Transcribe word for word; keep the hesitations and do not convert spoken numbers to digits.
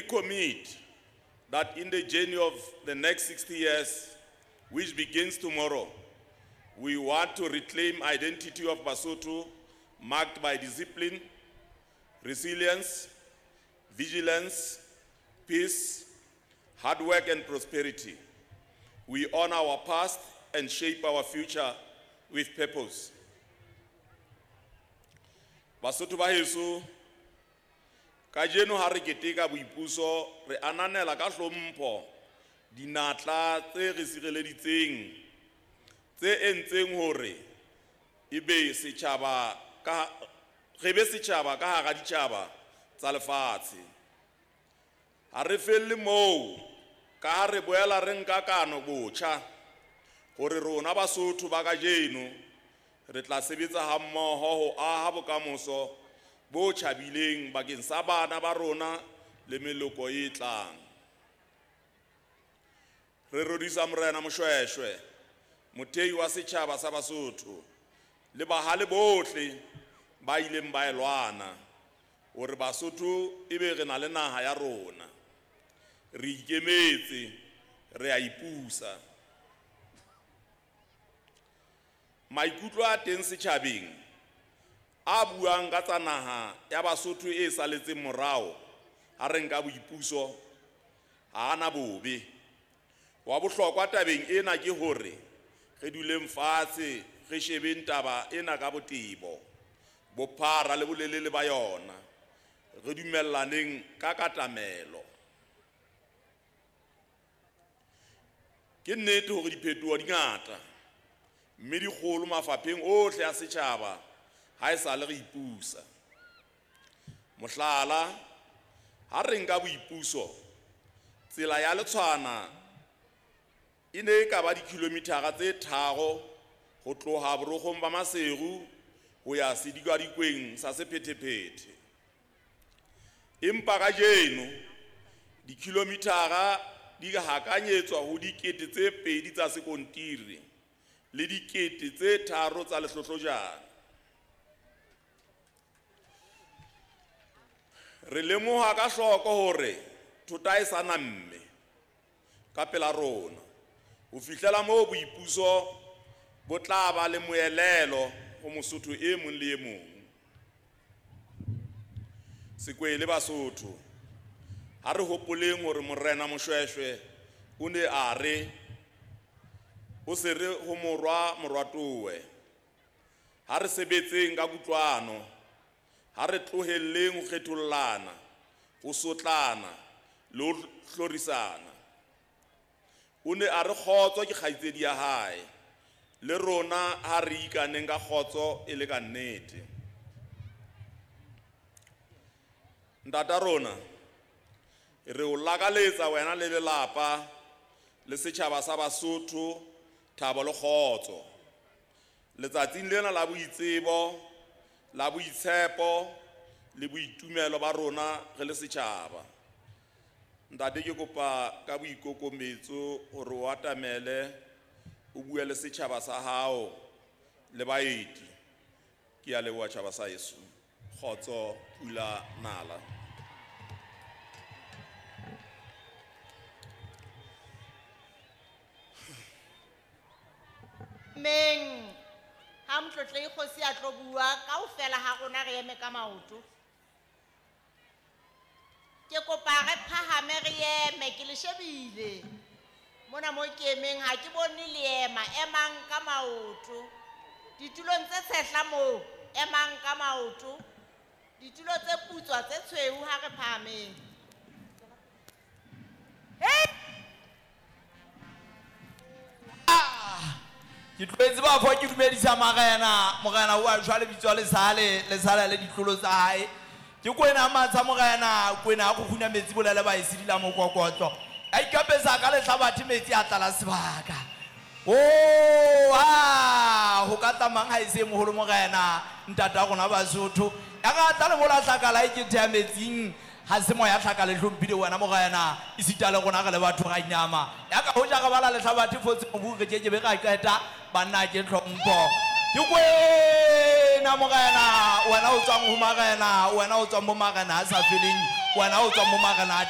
recommit that in the journey of the next sixty years, which begins tomorrow, we want to reclaim identity of Basotho marked by discipline, resilience, vigilance, peace, hard work and prosperity. We honor our past and shape our future with purpose. Basotho ba heso, kajeno ha re keteka boipuso, re ananela ka hlompho dinatla tse re sireleditseng, tse entseng hore ebe setjhaba ka, re be setjhaba ka hara ditjhaba tsa lefatshe. Ha re felle moo, ka ha re boela re nka kano botjha hore rona Basotho ba kajeno re tla sebetsa hammoho ho aha bokamoso bo tjhabileng bakeng sa bana ba rona le meloko e tlang. Re rorisa Morena Moshoeshoe, mothei wa setjhaba sa Basotho, le bahale bohle ba ileng ba e lwana hore Basotho ebe re na le naha ya rona. Re ikemetse, re a ipusa. Maikutlo a teng setjhabeng a buang ka tsa naha ya Basotho e saletseng morao ha re nka boipuso ha ana bobe. Wa bohlokwa tabeng ena ke hore re duleng fatshe re shebeng taba ena ka botebo, bophara le bolelele ba yona, re dumellaneng ka katamelo. Ke nnete hore diphetoho di ngata mme di kgolo mafapheng ohle a setjhaba ha e sale re ipusa. Mohlala, ha re nka boipuso, tsela ya Letshwana e ne e ka ba dikilomithara tse tharo ho tloha borokgong ba Maseru ho ya sedikadikweng sa sephethephethe. Empa kajeno dikilomithara di hakanyetswa ho dikete tse pedi tsa sekontiri le dikete tse tharo tsa lehlohlojane. Re lemoha ka hloko hore thota e sa namme ka pela rona ho fihlela moo boipuso bo tla ba le moelelo ho Mosotho e mong le e mong. Sekwele Basotho, ha re hopoleng hore Morena Moshoeshoe o ne a re o se re ho morwa morwatowe. Ha re sebetseng ka kutlwano, ha re tlohelleng ho kgethollana, ho sotlana le ho hlorisana. O ne a re kgotso ke kgaitsedi ya hae, le rona ha re ikaneng ka kgotso e le ka nnete. Ntata rona, re o lakaletsa wena le lelapa le setjhaba sa Basotho thabo le kgotso. Letsatsing lena la boitsebo, la boitshepo le boitumelo ba rona re le setjhaba. Ntate, ke kopa ka boikokobetso hore o atamele o bue le setjhaba sa hao le baeti. Ke a leboha tjhaba sa heso. Kgotso, pula nala. Meng ha motlotlehi kgosi a tlo bua kaofela ha rona re eme ka maoto. Ke kopa re phahame re eme, ke le shebile. Mona mo ke emeng ha ke bone le ema, emang ka maoto. Ditulong tse tshehla moo, emang ka maoto. Ditulo tse putswa tse tshweu ha re phahameng. Hey! Ke tlohetse bafo ke dumedisa morena, morena wa jwale lebitso le sale, le sale le ditlolo tsa hae. Ke kwena matsha morena, kwena a kguna metsi bolele ba e sidila mokokotlo. A ikapesa ka lehlabathe metsi a tlala sebaka. Oh, ha ho ka tlamang ha e se moholo morena, ntata rona Basotho. Ya ka tla le mola hlakala e ke thea metsing, ha se moya hlaka le hlomphile wena morena, esita le rona re le batho ra inama. Ya ka hoja re bala lehlabathe fotse mobu re ke ke be ra qeta banna ke hlompho. Ke kwena morena, wena o tswang ho marena, wena o tswang mo marena a sa feleng, wena o tswang mo marena a